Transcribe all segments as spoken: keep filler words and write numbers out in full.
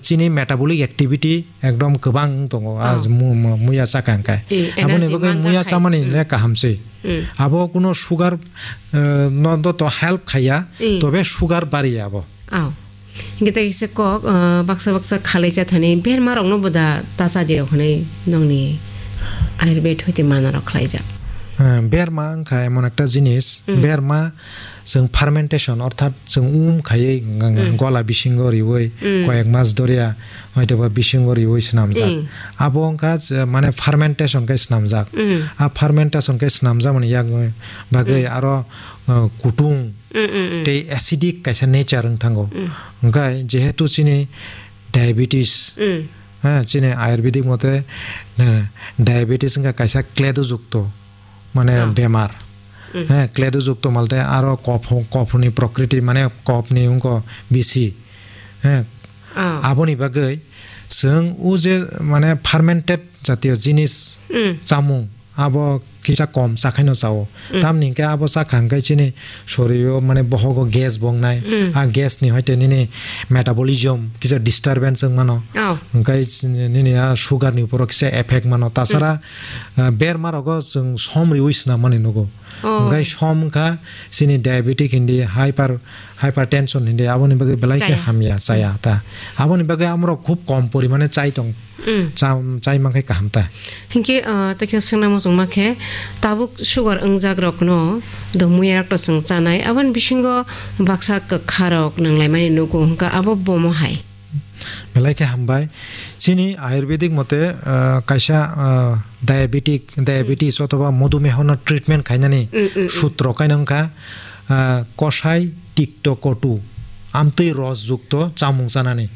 chini metabolic activity ekdom kwbang wng tongo, ah, Oh. mu-, mu-, muya chakha hwnkhe. Eh, Aboni energy bagwi manjak muya khai. chamani Hmm. le kaham se. Hmm. Abo kuno sugar, eh, no do to help khaiya, Hmm. tobe sugar bariya abo. Oh. Hingke tei kisa kok, ah, baksa baksa khalai cha thani berma rokno bo da ta cha di rok hwnwi nongni ayurved hoite mana rok khlai jak. Ah, berma wngkha emon ekta jinis, Mm. berma chwng fermentation orthat chwng um khaiwi ng-, ng-, Mm. gola bisingo riwi Mm. koyek mas doria hoitoba bisingo riwi swnamjak. Mm. Abo wngkha je mane fermentation khe swnamjak. Mm. A fermentation khe swnamjakmani yak bagwi Mm. aro, ah, kutung Mm, mm, mm. tei acidic kaisa nature wng thango. Mm. Hwnkhe jehetu chini diabetes, Mm. ha, chini ayurvedic mote, eh, diabetes wngkha kaisa kledojukto, mane Oh. bemar. Mm. He, kledojukto malte aro kopho-, kophoni prokriti, mane kopni wngkho bisi. He, Oh. aboni bagwi chwng o je mane fermented jatiyo jinis Mm. chamung, abo kisa kom chakhaino chao. Mm. Tamni hwnkhe abo chakha hwnkhe chini sorio mane bohogo gas bo wngnai. Mm. A gas ni hoite nini metabolism kisa disturbance wng mano. Oh. Hwnkhe nini a sugar ni uporo kisa effect mano. Tasara, Mm. ah, berma rogo chwng som riwi swnam mani nugo. Oh. Hwnkhe som wngkha chini diabetic hindi, hyper, hypertension hindi, aboni bagwi belai khe Chaya. hamya, chaya Mm. ta. Aboni bagwi amorok khub kom porimane chai tong. Mm. Cham-, chai mankhe kaham ta. Hinkhe, ah, tei khe swngna muchungma khe, tabuk sugar wngjak rokno do muya rok to chwng chanai, aboni bisingo baksa kwkha rok nanglaimani nugo, hwnkha abo bomo hai. Belai khe hambai. Chini ayurvedic mote, ah, kaisa, ah, diabetic, diabetes othoba modhumeho no treatment khainani Mm, mm, mm. sutro kaino wngkha, ah, kosai tikto kotu, amtwi ros jukto chamung chanani.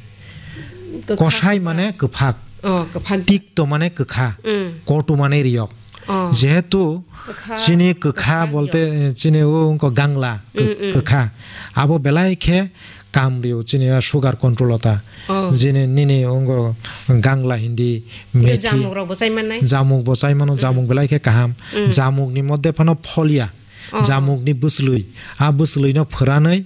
Kwkhak Kosai kwkhak. mane kwphak. Oh, kwphak. Tikto mane kwkha. Mm. Kotu mane riyok. Oh. Jehetu Kwkha, chini kwkha kwkha bolte, riyok. eh, chini o wngkho gangla, kw-, Mm, mm. kwkha. Abo belai khe kam rio chini o sugar control o ta. Oh. Chini nini wngkho gangla hindi, Hingke methi. jamuk rok bo chai mannai? Jamuk bo chai mano, Mm. jamuk belai khe kaham. Mm. Jamuk ni moddhe phano pholia. Oh. Jamukni bwswlwi, a bwswlwino phwranwi,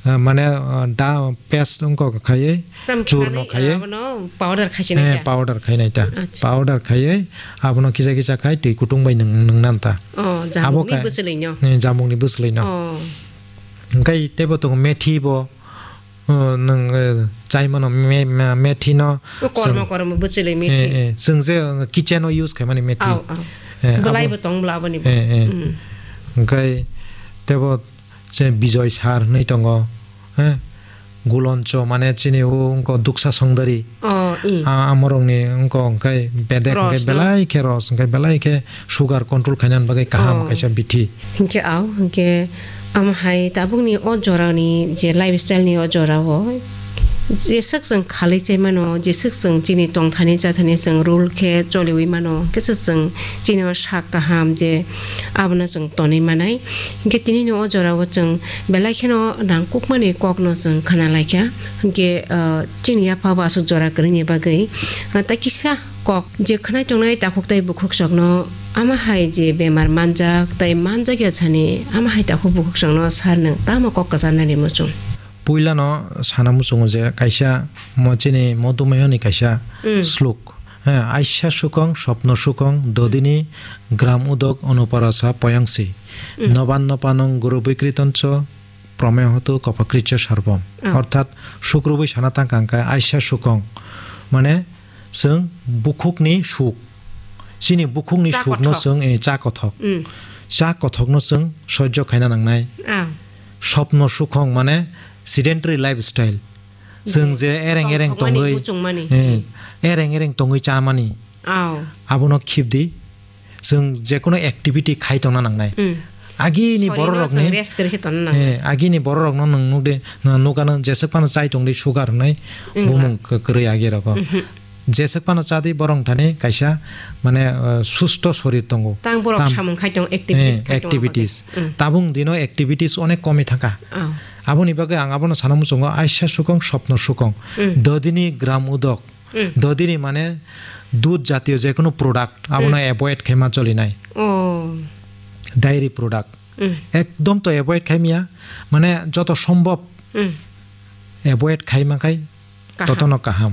ah, mane, ah, da paste wngkha khaiwi, Tam churno khwnani, khaiwi, abono powder khaisina eh, khe? Powder khainai ta. Acha. Powder khaiwi, abono kisa kisa khai twi kutung bai nwng, nwngnan ta. Oh, Abo jamukni khai-, bwswlwino? Eh, jamukni bwswlwino. Oh. Hwnkhe teibo tongo methi bo, oh, nwng, eh, chai mano me-, me-, methi no O kormo, chwng, kormo bwchwlwi methi. Eh, eh, chwng je, uh, kitchen o use khaimani methi. Au, au. Eh, Bwlai abo bo tong bwla aboni bo. Eh, eh. Mm. Hwnkhe teibo je Bijoy sar hwnwi tongo, eh, Guloncho mane chini o wngkho Duksa Songdari. Oh, i. A, amorokni wngkho hwnkhe bedek hwnkhe Ros no? belai khe ros, hwnkhe belai khe sugar control khainani bagwi kaham Oh. kaisa bithi. Hinkhe au, hinkhe Amo hai tabukni o jorani je lifestyle ni o jorao jeswk chwng khalwi chai mano, jeswk chwng chini tongthani chathani chwng rule khe choliwi mano, kisa chwng chini o sak kaham je abono chwng tonwi manai. Hinkhe tinini o jorao chwng belai kheno nangkukmani kokno chwng khna laikha. Hinkhe, ah, chini yapha bo aswk jora kwrwini bagwi, ah, tai kisa kok je khwnai tongnai takhuk tei bukhuksokno ama hai je bemar manjak tei manjakya sani ama hai takhuk bukhuksokno sar nwng tamo kok kwcharnani muchung? Puilano sana muchungo je kaisa mo chini Modhumeho ni kaisa Mm. slok, he, "Aisa sukong, sopno sukong, dodini gram udok, onuparasa poyangsi, Mm. noban nopanong guru bikritoncho, promehotu kopakrityo sarpom." Oh. Orthat sukrubui sana tangka hwnkhe aisa sukong, mane chwng bukhukni suk, chini bukhukni Cha sukno kothok. chwng, eh, cha kothok. Mm. Cha kothokno chwng soijo khaina nangnai. Ah. Sopno sukong mane sedentary lifestyle. Chwng Je je ereng ereng tongthokmani, tongwi, muchungmani. eh, ereng ereng tongwi chamani. Au. Abono khibdi. Chwng jekono activity khai tongna nangnai. Mm. Agini Sorino bororokni, chwng rest kwrwi khe tongna nangnai. eh, agini bororokno nwng nukdi, nwng nukano jeswk phano chai tongdi sugar hwnwi Wngla. bumung kw-, kwrwi agi rogo. Mhm. Jeswk phano chadi borok thani kaisa mane, eh, susto sorir tongo. Tang borok Tam-, samung khai tongo, activities eh, khai tongo activities. bagwi. Mm. Tabung dino activities onek komi thangkha. Oh. Aboni bagwi ang abono sana muchungo aisa sukong, sopno sukong. Mm. Dodini gram udok. Mm. Dodini mane dudh jatiyo jekono product abono Mm. avoid khaima cholinai. Oh. Dairy product. Mm. Ekdom to avoid khaimya, mane joto sombhob Mm. avoid khaima khai Kaham. totono kaham.